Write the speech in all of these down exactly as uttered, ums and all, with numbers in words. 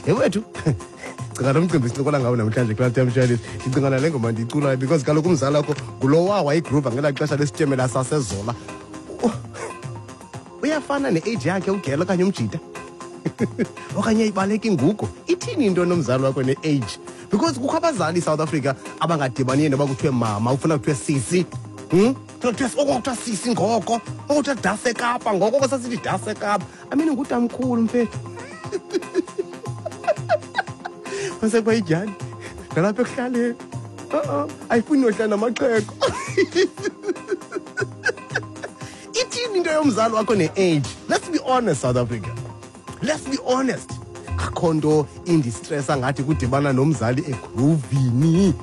Yewethu, cinga lo mcimbi sincokola ngawo namhlanje kulaa Time. Ndicinga nale ngoma ndiyiculayo because kaloku umzali wakho ngulowa wayigroova ngelaa xesha lesityemela saseZola. Uyafana ne-age yakhe ugela okanye umjita okanye ibaleka ingugo. Ithini into nomzali wakho ne-age? Because kukho abazali eSouth Africa abangadibaniyo noba kuthiwe mama, ufuna kuthiwe sisi. Hmm? Kuthiwa oko kuthiwa sisi ngoko, oko kuthiwa dase Kapa ngoko, oko sasithi dase Kapa. I mean, ngutamkhulu mfethu. Wasekwayidyani nalapha ekuhlaleni. Uh-uh, ayifuni nohlala namaxhego. Ithini into yomzali wakho ne-age? Let's be honest, South Africa. Let's be honest. Akho nto indistressa ngathi kudibana nomzali egroovini.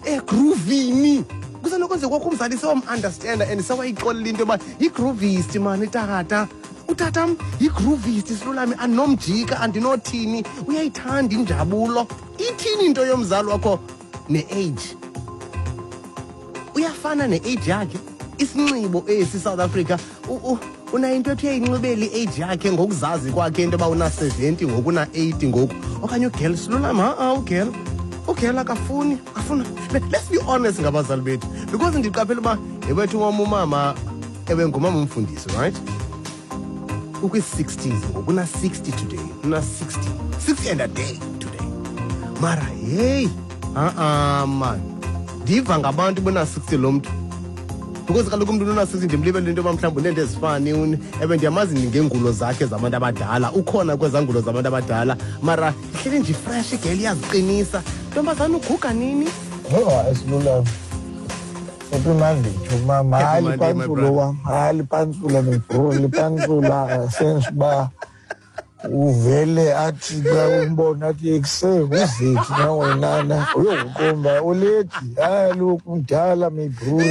Egroovini. Kusenokwenzeka kwakho umzali sewam-understanda and sewayixolela into yoba yigroovist mani tata. Utatam yigroovist silulami, andinomjika, andinothini, uyayithanda injabulo. Ithini into yomzali wakho ne-age? Uyafana ne-age yakhe? Isinxibo esi South Africa, unayo into ethi uyayinxibela i-age yakhe ngokuzazi kwakhe into yoba una-seventy ngoku, una-eighty ngoku. Okanye ugirl silulami, ha-a ugirl. Ugirl akafuni, akafuna. Let's be honest ngabazali bethu. Because ndiqaphela uba yewethu wam umama, ewe ngumama umfundisi, right? Ukwi-sixties ngoku, una-sixty today, una-sixty. sixty and a day today. Mara hey, ha-a man. Ndiva ngabantu bona-sixty lo mntu. Because kaloku umntu una-sixty ndimlibele into yoba mhlawumbi uneento ezifani, ewe ndiyamazi ngeengulo zakhe zabantu abadala, ukhona kwezaa ngulo zabantu abadala, mara ihleli nje fresh igel iyaziqinisa. Ntombazana uguga nini? Oh, asilulami. Happy Monday to mama. Happy Hayi Monday, my lipantsula brother. wam. Hayi lipantsula my bro, lipantsula sense uba uvele athi xa umbona athi ekuse uzethi na wenana uyokuqomba uledi. Hayi look mdala my bro.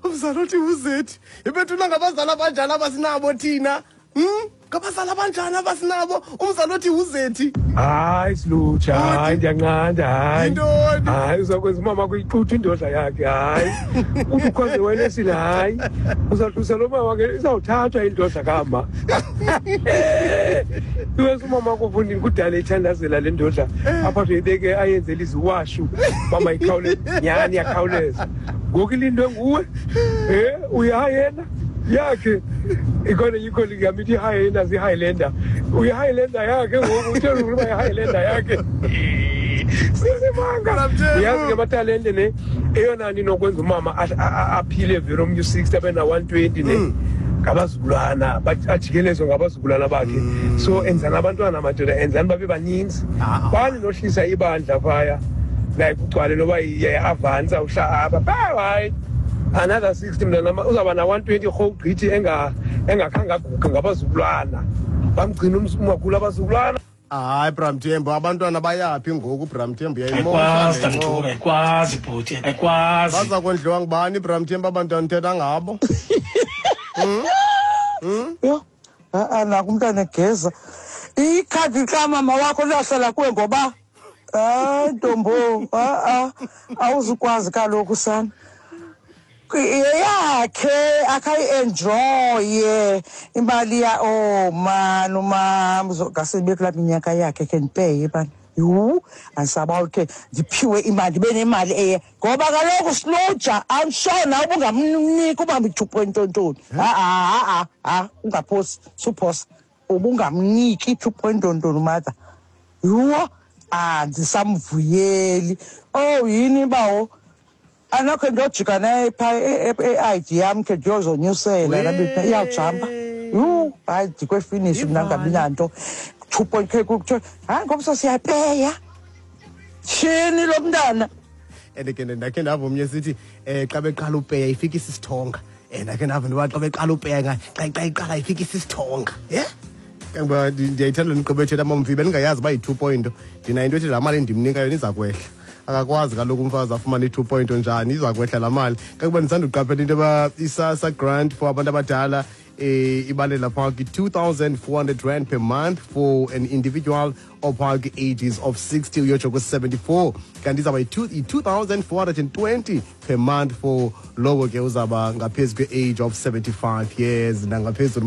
Umzali othi uzethi. Ibethuna ngabazali abanjani abasinabo thina? Hmm? Ngabazali abanjani abasinabo? Umzali othi uzethi. Hayi silutsha, hayi ndiyanqanda, hayi. Yintoni? Hayi uzakwenza umama kuyixutha indodla yakhe, hayi. Uthi ukhwaze wena esile, hayi. Uzawuhlusa lo mama ke izawuthathwa indodla kama. Iwesi umama kufundini kudala ethandazela le ndodla. Apha ibeke ayenzele iziwashu. Mama ikhawuleze, nyhani iyakhawuleza. Ngoku ilindwe nguwe. Eh, uyayena yakhe. Ikhona ikhona yami ithi Highlander, zi-Highlander. Uyi-Highlander yakhe ngoku, uthe ukuba yi-Highlander yakhe. Sisimanga. Uyazi ke amatalente ne, eyona nto inokwenza umama aphile vele omnye u-sixty abe na-one twenty ne. Ngabazukulwana, ajikelezwe ngabazukulwana bakhe. So enzani abantwana madoda, enzani babe baninzi. Bani nohlisa ibandla phaya. Like ugcwale noba iyavansa uhla apha. Hayi. Another sixty mntana uzawuba na one twenty rhowu gqithi engakhange aguge ngabazukulwana. Bamgcina umakhulu abazukulwana. Hayi Bramthembu, abantwana bayaphi ngoku Bramthembu? Uyayimosha Ayikwazi, le ncoko. Tata, ayikwazi bhuti, ayikwazi. Baza kondliwa ngubani Bramthembu abantwana uthetha ngabo? Hmm? Hmm? Yho, ha-a, naku umntana egeza. Ikhadi kamama wakho liyahlala kuwe ngoba? Hayi ntombo, ha-a, awuzukwazi kaloku sana. Eyakhe akayi-enjoye imali ya, oh man, umama ngase kulaa minyaka yakhe khe ndipeye bana. Yhu, andisaba ke ndiphiwe imali, ndibe nemali eye. Ngoba kaloku silutsha, I'm sure nawe ubungamnika uba two point ntontoni. Ha-a, ha-a, ha, ungaphosi, suphosa. Ubungamniki two point ntontoni mother. Yhu, andisamvuyeli. Oh, yini bawo? Anakho ndiyojika naye phaa e-I D yam khe ndiyozonyusela nabipha iyawujampa. Yhu, hayi ndikwefinishi mna ndingabi nanto. Two point k kuthiwa hayi ngomso siyapeya. Tyhini lo mntana. And ke ndakhe ndava omnye sithi um xa beqala upeya ifika isisithonga. Um ndakhe ndava into yoba xa beqala upeya xa xa iqala ifika isisithonga. Ye? Kangoba ndiyayithanda le nkqubo ethetha amamvi, bendingayazi uba yi-two point. Ndinayo into ethi laa mali ndimnika yona iza kwehla. Akakwazi kaloku umfazi afumane i-two point njani, iza kwehla laa mali. Kangoba ndisanduqaphela into yoba iSASSA grant for abantu abadala eh, ibalela phaa kwi-two thousand four hundred rand per month for an individual ophaa kwi-ages of sixty uyotsho kwi-seventy-four. Kanti izawuba yi-two thousand four hundred and twenty per month for lowo ke uzawuba ngaphezu kwe-age of seventy-five years nangaphezulu.